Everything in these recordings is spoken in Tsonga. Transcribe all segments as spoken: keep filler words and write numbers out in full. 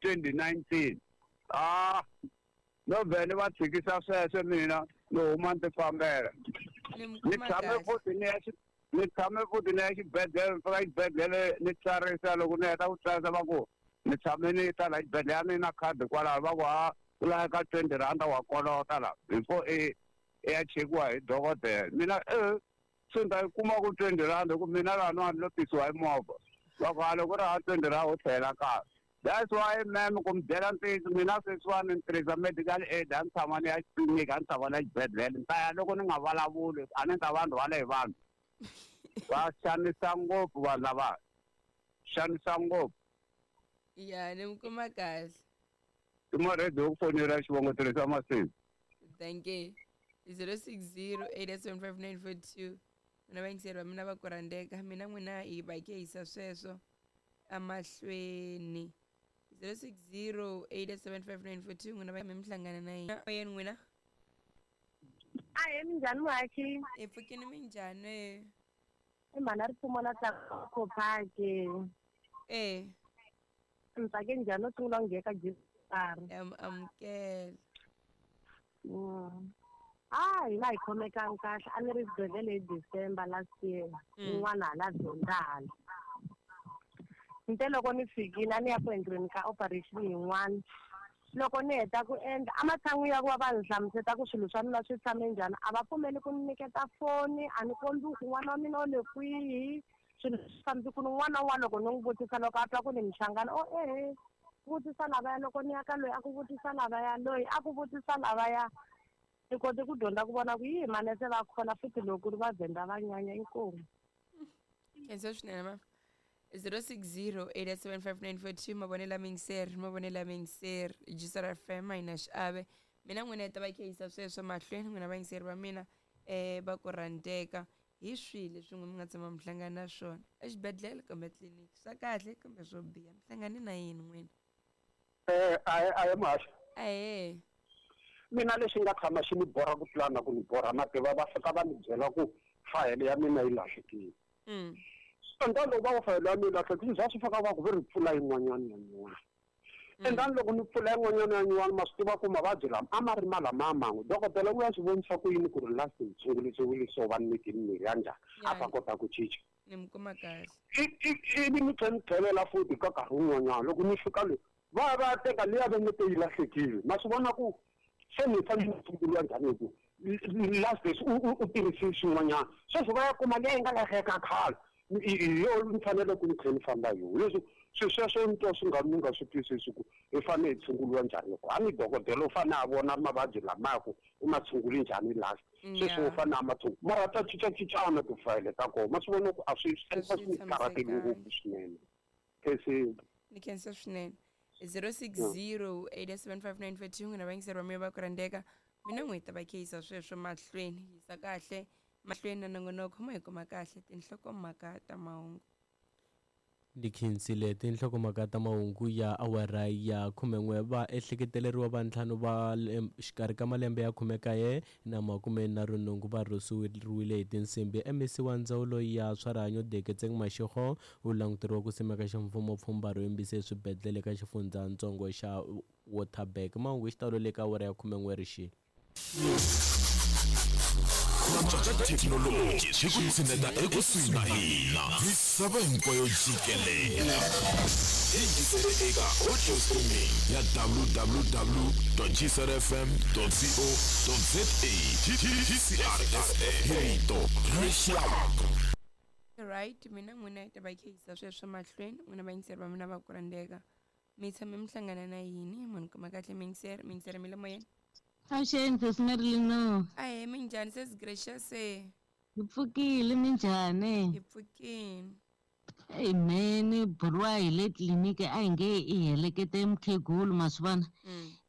twenty nineteen ah no vhele va tshikisa sweswo mina ni huma ni ti fambela ni tshame futhi ni ya ni tshame futhi ni ya xibedhlele ni fika xibedhlele ni tsarisa loko ni heta ku tsarisa va ku ni tshame ni ta la xibedhlele a ni na khadi kwalaho va ku ha ku laveka twenty rand wa kolota la before i i ya chekiwa hi dokodela mina e se ni ta yi kuma ku twenty rand hi ku mina laniwani ni lo tisiwa hi movha va ku ha loko ri ha twenty rand u tlhela kaya. That's why ma'am ku mi byela ntiyiso mina sweswiwani ni tirhisa medical aid a ni tshama ni ya xitliliniki a ni tshama ni ya xibedhlele ni ta ya loko ni nga vulavuli a ni ta va ni rhwale hi vanhu va xanisa ngopfu vanhu lava xanisa ngopfu. Ya ni mi kuma kahle. I maredi yo ku fonela xivongo tirhisa masiku. Thank you. zero six zero eight seven five nine four two mina vayingiseri va mina va ku rhandzeka mina n'wina hi va hi yisa sweswo amahlweni. zero six zero eight seven five nine four two n'wina va mi hlangana na yena yena n'wina. Ahee, minjhani muhaxi? Hi pfukini minjhani? I mhana ripfumo la Tlakophake. Eh. Ni tsake njhani no sungula ku nghena ka G R. Am amukela. Mm. Ah, hina hi khomekangi kahle a ni ri xibedhlele hi December last year. Un'wana hala Venda hala. Nte loko ni fikile a ni ya ku endleni ka operation yin'wana. Loko ni heta ku endla ematshan'wini ya ku va va ni hlamuseta ku swilo swa mina swi tshame njhani a va pfumeli ku ni nyiketa foni a ni kombi ku n'wana wa mina u le kwihi swilo swi fambi ku ni n'wana un'wana loko ni n'wi vutisa loko a twa ku ni mixangana o ehe vutisa lavaya loko ni ya ka loyi a ku vutisa lavaya loyi a ku vutisa lavaya ni kote ku dyondza ku vona ku yi manese va khona futhi loko ku ri vavhenda va nyanya inkomu. Khensa swinene ma. zero six zero eight seven five nine four two mavonelo mingiseri mavonelo mingiseri G S R F M a yi na xiave mina n'wina hi ta va khehisa sweswo mahlweni n'wina vayingiseri va mina eh va ku rhandzeka hi swihi leswi n'we mi nga tshama mi hlangana na swona exibedhlele kumbe tliliniki swa kahle kumbe swo biha mi hlangane na yini n'wina? Eh a a muhaxi. Ahee. Mina lexi nga tshama xi ni borha ku tlula na ku ni borha mativa va fika va ni byela ku fayele ya mina yi lahlekile. Mm. Endani loko va ku fayele ya mina yi lahlekile swi swi fika va ku ve ri pfula yin'wanyana ya nyuwani. Endani loko ni pfula yin'wanyana ya nyuwani ma swi tiva ku mavabyi lama a ma ri ma lama man'we dokodela u ya swi vonisa ku yini ku ri last ni tshungulisiwile so va ni nyike mimirhi ya njhani a ta kota ku cinca. Ni mi kuma kahle. Ivi ni tlhela ni tlhelela futhi ka nkarhi wun'wanyana loko ni fika le va va teka liya va nge te yi lahlekile ma swi vona ku se ni fanele ni tshunguriwa njhani hi ku last days u u tirhise swin'wanyana sweswi va ya kuma liya yi nga lahleka khale hi yo ni fanele ku ni tlhela ni famba hi yona leswi swilo sweswo ni twa swi nga ni nga swi twisisi ku hi fanele hi tshunguriwa njhani loko a ni dokodela u fanele a vona mavabyi lamaya ku u ma tshunguli njhani last sweswi u fanele a ma tshungula mara ta cincacincana tifayele ta kona ma swi vona ku a swi swi ni karhateli ngopfu swinene. Khensa ni khensa swinene. zero six zero eight seven five nine four two n'wina vayingiseri va mina va ku rhandzeka mina n'wi hi ta va khehisa sweswo mahlweni yisa kahle mahlweni na nongonoko mo hi kuma kahle tinhlokomhaka ta mahungu. Ni khensile tinhlokomhaka ta mahungu ya awara ya khumen'we va ehleketeleriwa va ntlhanu va xikarhi ka malembe ya khumekaye na makume nharhu nhungu va rhurhisiwile hi tinsimbi. M E C wa ndzawulo ya swa rihanyo Deketseng Mashego u languteriwa ku simeka ximfumo pfhumba ro yimbisa eswibedhlele ka xifundzatsongo xa Waterberg. Mahungu hi xitalo le ka awara ya khumen'we rixile. Thekinoloji swi ku tshineta ekusuhi na hina misava hinkwayo jikelele. Yingisele eka audio streaming ya w w w dot g s r f m dot co dot z a. G C R F M hi rito rixaka. Right, mina n'wina hi ta va khehisa sweswo mahlweni n'wina vayingiseri va mina va ku rhandzeka mi tshame mi hlangana na yini munhu kuma kahle miyingiseri miyingiseri mi le moyeni. Avuxeni sesi Marilyn. Ahee, minjhani sesi Gracious? Hi pfukile minjhani? Hi pfukile. Eyi mhani buriwa hi le tliliniki a hi nge i helekete mukhegulu ma swi vona.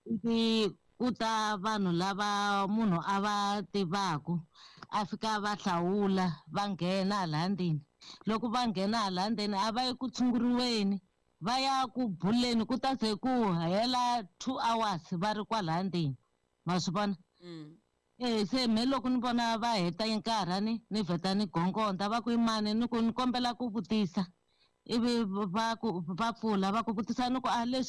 Ivi ku ta vanhu lava munhu a va tivaku a fika va hlawula va nghena hala ndzeni. Loko va nghena hala ndzeni a va yi ku tshunguriweni va ya ku buleni ku ta ze ku hela two hours va ri kwala ndzeni. Ma swi vona? Eh se me loko ni vona va heta nkarhi ni ni vheta ni gongonda va ku imani ni ku ni kombela ku vutisa ivi va ku va pfula va ku vutisa ni ku a leswi